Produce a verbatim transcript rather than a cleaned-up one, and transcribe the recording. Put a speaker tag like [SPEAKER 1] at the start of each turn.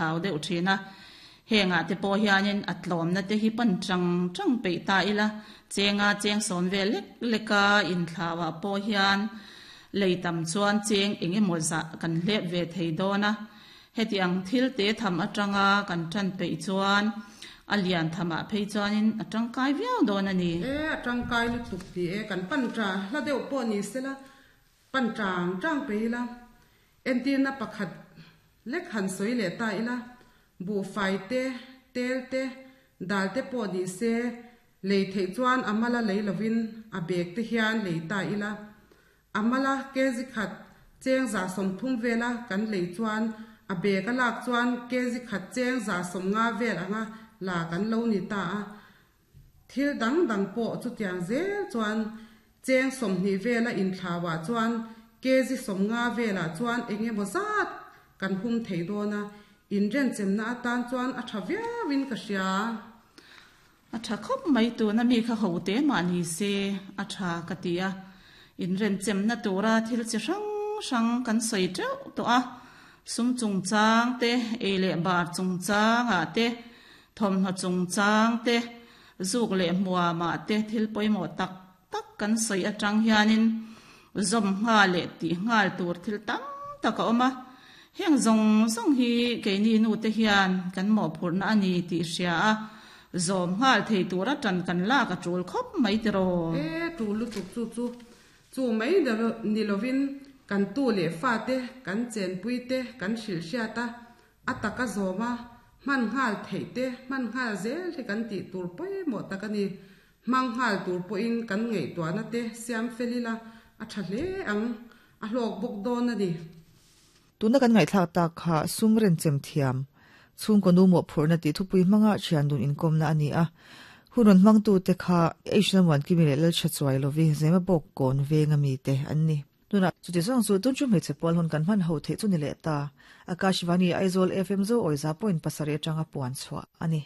[SPEAKER 1] thlau deuh thin a. Hengah te pawh hianin a tlawmna te hi pan tang tang peih ta ila chenga cheng sawn vel lek leka inthlauah pawh hian lei tam chuan cheng engemaw zah kan hlep ve thei dawn a. Heti ang thil te tham atanga kan tan peih chuan a lian thamah phei chuanin a tangkai viau dawn a ni.
[SPEAKER 2] E a tangkai lutuk ti e kan pan tha hla deuh pawh ni sela pan tang tang peih ila entirna pakhat lek han sawi leh ta ila bu fai te tel te dal te pawh ni se lei theih chuan amala lei lovin a bag te hian lei ta ila amala kezi khat cheng za som thum vela kan lei chuan a bag a lak chuan kezi khat cheng za som nga vel anga la kan lo ni ta a thil dang dang pawh chu tiang zel chuan cheng som ni vela in thlawa chuan kezi som nga vela chuan engemaw zat kan hum thei dawna in ren chemna atan chuan a tha viauin ka hria.
[SPEAKER 1] A tha khawp mai tu na mi kha ho te ma ni se a tha ka ti a in ren chemna tura thil chi hrang hrang kan sawi teuh tawh a sum chung chang te ei leh bar chung chang a te thawmhnaw chung chang te zuk leh hmuama te thil pawimawh tak tak kan sawi atang hianin zawm nghal leh tih nghal tur thil tam tak a awm a. Heng zawng zawng hi keini nu te hian kan mawhphurhna a ni tih hria a zawm nghal thei tura tan kan lak a tul khawp mai tiraw.
[SPEAKER 2] E tul lutuk chu chu chu mai ni lovin kan tu leh fa te kan chenpui te kan hrilh hriat a a taka zawma man nghal thei te man nghal zel hi kan tih tur pawimawh tak a ni. Mang nghal tur pawhin kan ngaihtuahna te siam felila a tha hle ang a hlawk bawk dawn a ni.
[SPEAKER 3] Tuna kan ngaihthlak tak kha sum ren chem thiam chhungkaw nu mawhphurhna tih thupui hmanga thian dun inkawmna a ni a. Hun rawn hmangtu te kha H lam kimi leh lal tha chuai lovi zema bawk kawn venga mi te an ni. Tuna chuti zawng chu tun chu hmeichhe pawl hun kan hman ho theih chu ni leh ta. Akashvani Aizawl F M zo awiza point pasarih atanga puan chhuah a ni.